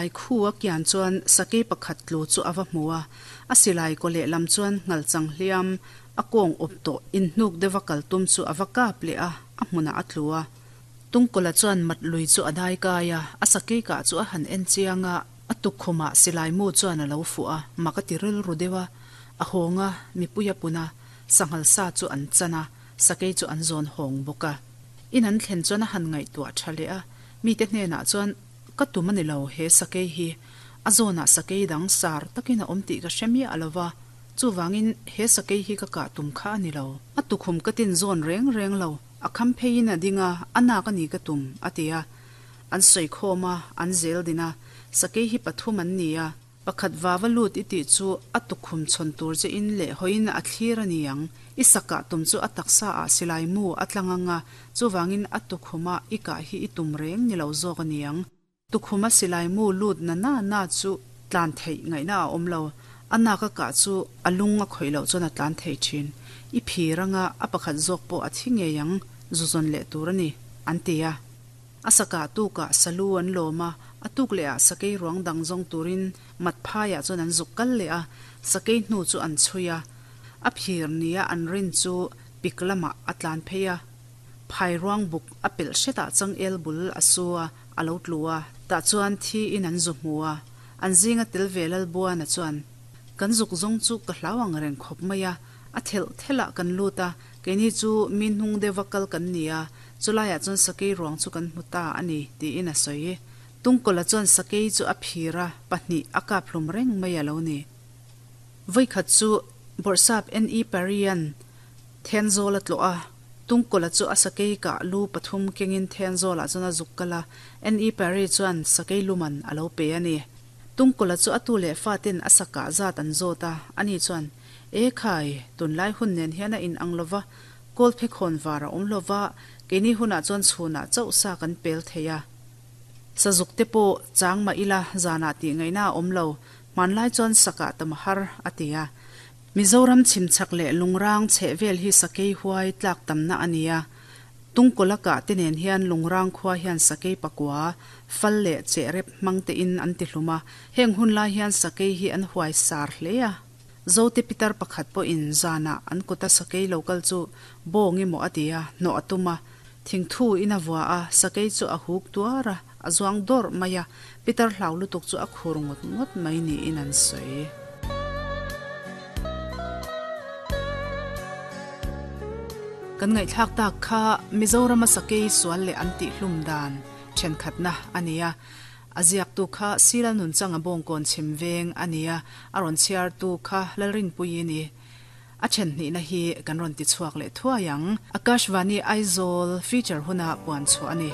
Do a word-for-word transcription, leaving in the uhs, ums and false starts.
silai khu a kian chuan sakei pakhat tlu chu a va hmu a, a silai kaw lehlam chuan nghalchang hliam a kawng awp tawh inhnuk deuha kal tum chu a va kap leh a, a hmunah a tlu a. Tungkawla chuan mat lui chu a dai kai a, a sakei kah chu a han en chiang a, a tukkhumah silai mu chuan a lo fuh a, mak a ti rilru deuh a, a hawng a, mipui a pun a, sanghal sa chu an chan a, sakei chu an zawn hawng bawk a. In an thlen chuan a han ngaihtuah tha leh a, mite hnenah chuan, Ka tum a ni lo, he sakei hi a zawnah sakei dang sar takin a awm tih ka hre miah lo va, chuvangin he sakei hi ka kah tum kha a ni lo. A tukhum ka tin zawn reng reng lo, a kham pheiin a ding a, a nak a ni ka tum, a ti a. An sawi khawm a, an zel din a, sakei hi pathum an ni a, pakhat vava lut i tih chu a tukhum chhawn tur che in leh hawiin a thlir a ni ang, i sakah tum chu a taksa ah silai mu a tlang ang a, chuvangin a tukhuma i kah hi i tum reng ni lo zawk a ni ang. Tukhuma silai mu lut na na na chu tlan theih ngaihna a awm lo, a nak a kah chu a lung a khawih loh chuan a tlan thei thin. I phir anga a pakhat zawk pawh a thi ngei ang, zu zawn leh tur a ni, an ti a. A sakah tukah salu an lawm a, a tuk leh ah sakei ruang dang zawng turin mat phaiah chuan an zuk kal leh a, sakei hnu chu an chhui a. A phir nia an rin chu pik lamah a tlan phei a. Phai ruang buk a pelh hretah changel bul a su a, a lo tlu a, tah chuan thi in an zu hmu a. An zinga tel ve Lalbuana chuan, Kan zuk zawng chu ka hlau ang reng khawp mai a, a thelh thelh ah kan lut a, keini chu mi hnung deuha kal kan ni a, chulaiah chuan sakei ruang chu kan hmu ta a ni, tiin a sawi. Tungkawla chuan sakei chu a phir a, pahnih a kap hlum reng mai a lo ni. Vawikhat chu Bawrhsap N E Parry-a'n Thenzawl a tlawh a, Tungkawla chu a sakei kah lu pathum kengin Thenzawlah chuan a zuk kal a, N E Parry chuan sakei luman a lo pe a ni. Tungkawla chu a tu leh faten a sakah zat an zawt a, ani chuan, E khai, tunlai hun nen hian a inang lo va, kawlphe khawn var a awm lo va, keini hunah chuan chhunah chauh sa kan pel thei a. Sazuk te pawh chang mah ila zanah tih ngaihna a awm lo, hmanlai chuan sakah tam a har, a ti a. Mizoram chhimchhak leh lungrang chheh vel hi sakei huai tlak tamna a ni a. Tungkawla kah te nen hian lungrang khua hian sakei pakua, fal leh chehrep hmang tein an ti hlum a. Heng hun lai hian sakei hi an huai sar hle a. Zote pitar pakhat pawhin zanah an kuta sakei lo kal chu bawng emaw a ti a, hnawh a tum a. Thingthu in a vua a, sakei chu a huk tuar a, a zuang dawrh mai a, pitar hlau lutuk chu a khur ngawt ngawt mai niin an sawi. Kan ngaihthlak tak kha Mizorama sakei sual leh an tihhlum dan thenkhatna a ni a. A ziaktu kha Silal Nunchanga Bawngkawn chhim veng a ni a, a rawn chhiartu kha Lalrinpuii ni. A then hnihna hi kan rawn ti chhuak leh thuai ang. Akashvani Aizawl feature huna puan chhuah a ni.